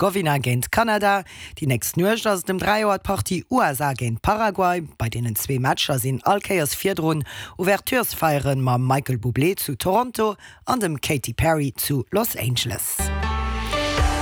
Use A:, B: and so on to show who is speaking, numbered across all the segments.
A: Herzegowina géint Kanada. Déi nächst Nuecht ass et ëm 3 Auer d'Partie USA géint Paraguay. Bei deenen zwee Matcher sinn all Kéiers virdrun Ouverturesfeiere mam Michael Bublé zu Toronto an dem Katy Perry zu Los Angeles.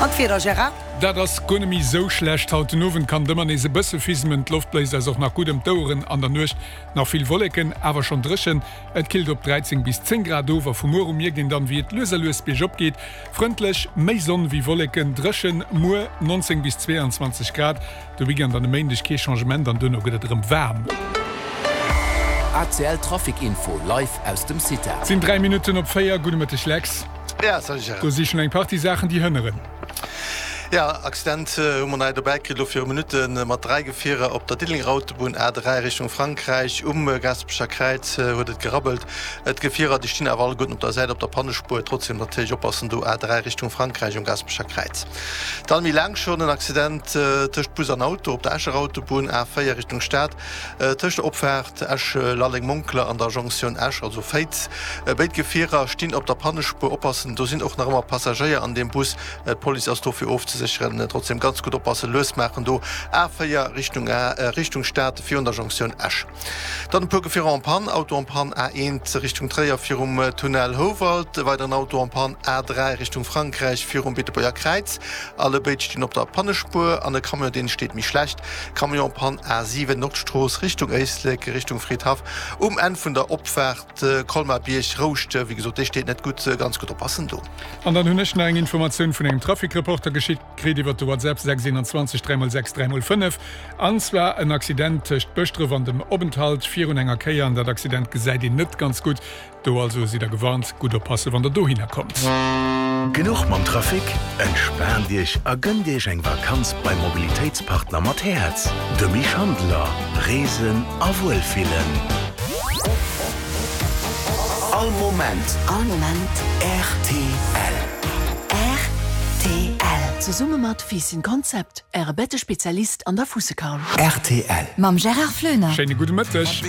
A: An d'Wieder, Gérard?
B: Dat ass guer net méi esou schlecht. Haut den Owend kann et ëmmer nees e bësse fismen, d'Loft bléist eis och nach gutt ëm d'Oueren. An der Nuecht nach vill Wolleken, awer schonn dréchen. Et killt op 13 bis 10 Grad of a vu muer u mierkt een dann, wéi et lues a lues biergop geet. Frëndlech, méi Sonn wéi Wolleken, dréchen, muer 19 bis 22 Grad. De Weekend an e Méindeg kee Changement an duerno gëtt et erëm waarm.
C: ACL Trafic Info live aus dem CITA.
B: Et sinn 3 Minutten op 4. Gudde Mëtteg Lex.
D: Ja, salut Gérard.
B: Do si schonn eng Partie Saachen déi hënneren.
D: Ja, Accident hu mer nei dobäi kritt elo viru Minutte mat 3 Gefierer op der Diddelenger Autobunn A3 Richtung Frankräich. Um Gaasperecher Kräiz huet et gerabbelt. D'Gefierer déi stinn awer alleguerten op der Säit op der Pannespuer. Trotzdem natierlech oppassen do A3 Richtung Frankräich um Gaasperecher Kräiz. Dann méi laang schonn en Accident tëscht Bus an Auto op der Escher Autobunn, A4 Richtung Stad, tëscht der Opfaart Esch-Lalleng-Monkler an der Jonktioun Esch, also Féiz. Béid Gefierer stinn op der Pannespuer. Oppassen, do sinn och nach ëmmer Passagéier an deem Bus. D'Police ass do fir ofzesécheren. Trotzdem ganz gutt oppassen, lues maachen do, A4 Richtung Richtung Stad virun der Jonktioun Esch. Dann e puer Gefierer en panne, Auto en panne A1 Richtung Tréier virum Tunnel Houwald, e weideren Auto en panne A3 Richtung Frankräich virum Beetebuerger Kräiz. Allebéid stinn op der Pannespuer an e Camion deen steet méi schlecht. Camion en panne A7 Nordstrooss Richtung Éislek Richtung Fridhaff um Enn vun der Opfaart Colmar-Bierg Rouscht. Wéi gesot dee steet net gutt, ganz gutt oppassen do.
B: An dann hunn ech nach eng Informatioun vun engem Trafic-Reporter geschitt. Kritt iwwert de WhatsApp 6 21 3 x 6 3 x 5, an zwar en Accident tëscht Bëschdref an dem Openthalt virun enger Kéier, an dat Accident gesäit een net ganz gutt. Do also sidd der gewarnt, gutt oppassen wann der dohinner kommt.
C: Genuch mam Trafic? Entspaant Iech a gënnt Iech eng Vakanz beim Mobilitéitspartner mat Häerz, dem Misch Handeler. Reesen a Wuelfillen. All Moment.
E: All Moment.
C: Rtl.
E: Rtl. Zesumme mat Fiisschen Konzept, Äre Bettespezialist an der Fuussekarl.
C: Rtl.
E: Mam Gérard Floener.
B: Schéine gudde Mëtteg.